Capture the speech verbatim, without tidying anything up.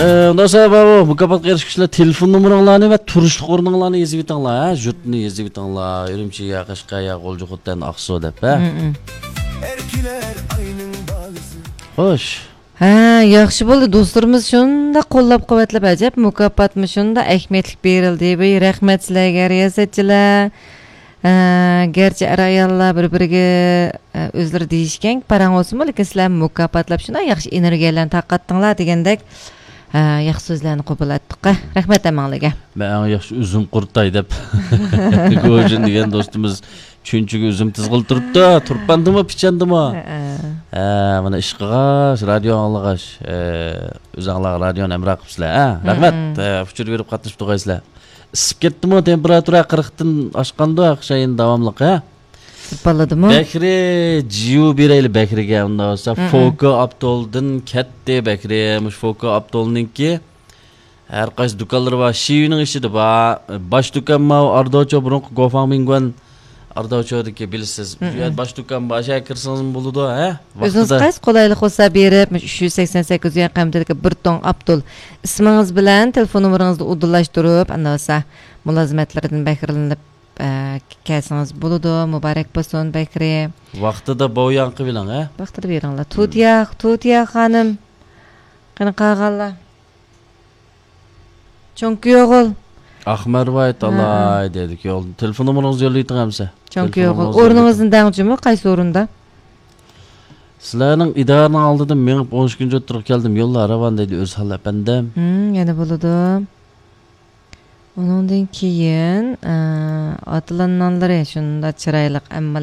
ئۇنداق بولسا، بۇ مۇكاپاتقا ئېرىشكۈچىلەر تېلېفون نومۇرۇڭلارنى ۋە تۇرۇشلۇق ئورنۇڭلارنى يېزىۋېتىڭلار، ھە؟ يۇرتنى يېزىۋېتىڭلار. ئۈرۈمچى يا قەشقەر يا غۇلجا خوتەن ئاقسۇ دەپ، ھە؟ مم. خوش. ھە، ياخشى بولدى. دوستلىرىمىز شۇنداق قوللاپ-قۇۋۋەتلەپ، ئەجەب مۇكاپاتمۇ شۇنداق ئەھمىيەتلىك بېرىلدى. ۋەي، رەھمەت سىلەرگە، رىياسەتچىلەر. ئە، گەرچە ئەر-ئاياللار بىر-بىرىگە، ئە، ئۆزلىرى دېيىشكەن پاراڭ بولسىمۇ، لېكىن سىلەر مۇكاپاتلاپ شۇنداق ياخشى ئېنېرگىيەلەرنى تارقاتتىڭلار دېگەندەك، ئە، ياخشى سۆزلەرنى قوبۇل ئەتتۇق. رەھمەت ھەممىڭلارگە. مەن ئەڭ ياخشى ئۈزۈم قۇرۇتاي دەپ، گوجىن دېگەن دوستىمىز چۈنچىگە ئۈزۈم تىزغىلى تۇرۇپتۇ. تۇرپاندىمۇ، پىچاندىمۇ؟ ھە، ھە. ھە، مانا ئىشقىغاچ، رادىيو ئاڭلىغاچ، ئە، ئۆزەڭلار رادىيونى ھەمراھ قىپسىلەر، ھە؟ رەھمەت، مم. ئە، ئۇچۇر بېرىپ قاتنىشىپ تۇرغايسىلەر. ئىسسىپ كەتتىمۇ، تېمپېراتۇرا قىرىقتىن ئاشقاندۇ، ئوخشايدۇ داۋاملىق، ھە؟ بالىدىمۇ؟ بەكرى، جىيۇ بېرەيلى بەكرىگە، ئۇنداق بولسا. مم. فوكا ئاپتولدىن كەتتى بەكرى. مۇشۇ فوكا ئاپتولنىڭكى ھەر قايسى دۇكانلىرى بار. شىۋىنىڭ ئىچىدە بار. باش دۇكان ماۋۇ ئارداۋچو، بۇرۇنقى گوفاڭ مىڭگۇەن ئارداۋچودىكى، بىلىسىز. مم. شۇ يەردە باش دۇكان بار. شۇ يەرگە كىرسىڭىزمۇ بولىدۇ، ھە؟ ئۆزىڭىز ۋاقتىدا. قايسى قولايلىق بولسا بېرىپ، مۇشۇ ئۈچ يۈز سەكسەن سەككىز يۈەن قىممىتىدىكى بىر توڭ ئاپتول ئىسمىڭىز بىلەن تېلېفون نومۇرىڭىزنى ئۇدۇللاشتۇرۇپ، ئاندىن بولسا مۇلازىمەتلىرىدىن بەھرىلىنىپ، ئە، كەلسىڭىز بولىدۇ. مۇبارەك بولسۇن، بەكرى. ۋاقتىدا بوياڭ قىلىۋېلىڭ، ھە؟ ۋاقتىدا بېرىڭلار. مم. تۇتىيا، تۇتىيا خانىم. قېنى قالغانلار؟ چوڭ كۈيئوغۇل. ئاخمەرۋاي ھە، تالاي ھە. دېدىكى يول. تېلېفون نومۇرىڭىزنى يوللاۋېتىڭ ئەمسە. چوڭ تېلېفون كۈيئوغۇل. نومۇرىڭىزنى ئورنىڭىزنى يوللاۋېتىڭ. دەڭچىمۇ؟ قايسى ئورۇندا؟ سىلەرنىڭ ئىدارىنىڭ ئالدىدىن مېڭىپ ئون ئىككىنچى ئوتتۇرىغا كەلدىم. يوللار راۋان دەيدۇ ئۆزھال ئەپەندىم. ھىم، يەنە بولىدۇ. ئۇنىڭدىن كېيىن، ئە، ئاتىلان نانلىرى شۇنداق چىرايلىق، ئەمما